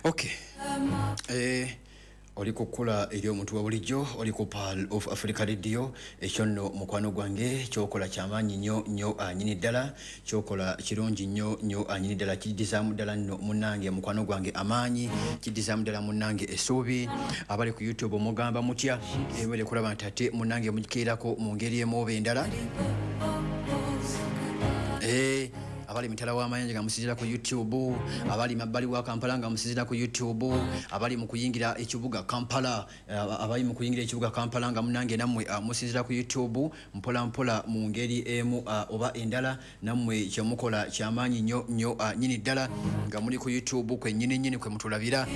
Okay. Oli kukula eri omuntu wa bulijjo, oli ku Pearl of Africa Radio. Ekyo nno mukwano gwange kyokola kyamaanyi nnyo nnyo anyini ddala, kyokola kirungi nnyo nnyo anyini ddala, kiddizaamu ddala nno munnange mukwano gwange amaanyi, kiddizaamu ddala munnange essuubi. Abali ku YouTube mugamba mutya? Ebere kulaba nti ate munnange mugikeerako mu ngeri emu oba endala. Abali mitala w'amayanja nga musinziira ku YouTube, abali mabbali wa Kampala nga musinziira ku YouTube, abali mu kuyingira ekibuga Kampala, abali mu kuyingira ekibuga Kampala nga munange nammwe musinziira ku YouTube mpola mpola mu ngeri emu oba endala, nammwe kyemukola kyamaanyi nnyo nnyo nnyini ddala nga muli ku YouTube kwe nnyini nnyini kwe mutulabira.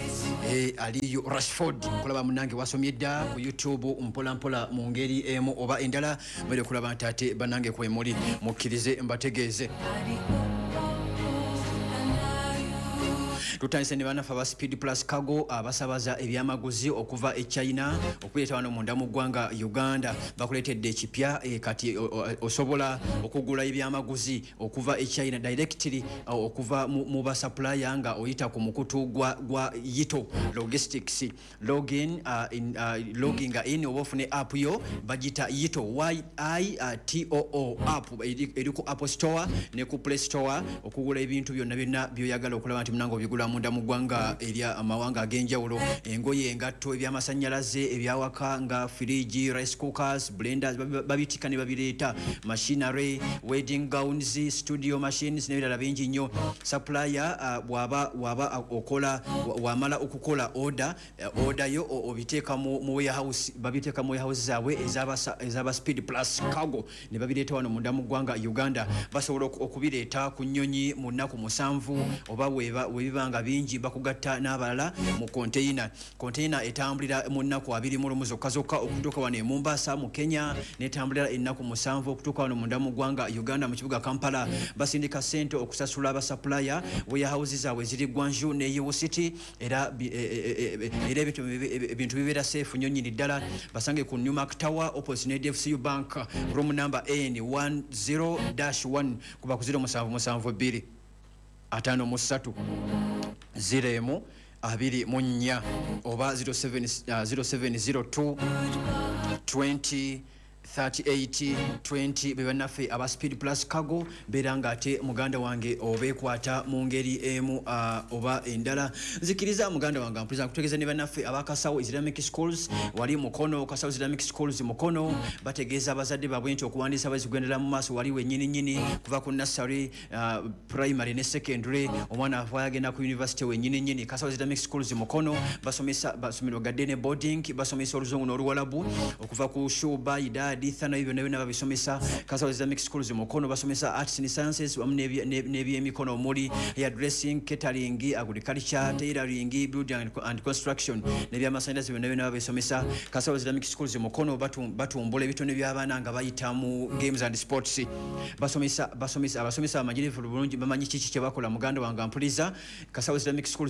Aliyo Rashford kulaba munange wasomye dda ku YouTube mpola mpola mu ngeri emu oba endala, mwere kulaba nti ate bannange kwe muli, mukkirize mbategeeze. Tutandise ne bannaffe aba Speed Plus Cargo abasabaza ebyamaguzi okuva e China okuleeta wano munda mu ggwanga Uganda. Bakuleetedde ekipya, kati osobola okugula ebyamaguzi okuva e China directly, okuva mu ba supplier nga oyita ku mukutu gwa Yito Logistics. Login, in, logging in oba ofune app yo bagita Yito, Y I T O O app, eri ku Apple Store ne ku Play Store, okugula ebintu byonna byonna by'oyagala okulaba nti munange obigula munda mu ggwanga erya amawanga ag'enjawulo, engoye, engatto, ebyamasannyalaze, ebyawaka nga fridge, rice cookers, blenders, babitika ne babireeta, machinery, wedding gowns, studio machines n'ebirala bingi nnyo. Supplier, bw'aba okola, wamala okukola order, order yo obiteeka mu warehouse, babiteeka mu warehouse zaabwe ez'aba Speed Plus Cargo ne babireeta wano munda mu ggwanga Uganda. Basobola okubireeta ku nnyonyi mu nnaku 7, oba webiba nga bingi bakugatta n'abalala mu container. Container etambulira mu nnaku 21 zokka zokka okutuuka wano e Mombasa mu Kenya, n'etambulira ennaku 7 okutuuka wano munda mu ggwanga Uganda mu kibuga Kampala. Basindika ssente okusasula aba supplier, warehouse zaabwe ziri Guangzhou ne Yiwu City, era era ebintu bibeera safe nnyo nnyini ddala. Basange ku Newmark Tower opposite ne DFCU Bank, room number N one zero dash one, kuba ku zero musanvu musanvu bbiri ataano mu ssatu zero emu abiri mu nnya oba zero seven, zero seven zero two twenty thirty-eight twenty. Be bannaffe aba Speed Plus Cargo. Beera ng'ate muganda wange obeekwata mu ngeri emu, oba endala. Nzikiriza muganda wange ampuliza nkutegeeza ne bannaffe aba Kasawo Islamic Schools wali Mukono, Kasawo Islamic Schools Mukono, bategeeza abazadde baabwe nti okuwandiisa bazigwendera mu maaso wali wennyini nnyini, kuva ku nursery, primary ne secondary, omwana ava agenda ku university wennyini nnyini. Kasawo Islamic Schools Mukono basomesa basomero gadde ne boarding, basomesa oluzungu n'oluwalabu okuva ku Shuba, Idadi, Thana, ebyo byonna byonna babisomesa. Kasawo Islamic Schools Mukono basomesa arts and sciences wamu n'ebyemikono omuli hairdressing, catering, agriculture, tailoring, building and construction n'ebyamasannyalaze byonna byonna babisomesa. Kasawo Islamic Schools Mukono batumbula ebitone by'abaana nga bayita mu games and sports. Basomesa, basomesa, abasomesa abamanyirivu bulungi, bamanyi kiki kye bakola. Muganda wange ampuliza, Kasawo Islamic Schools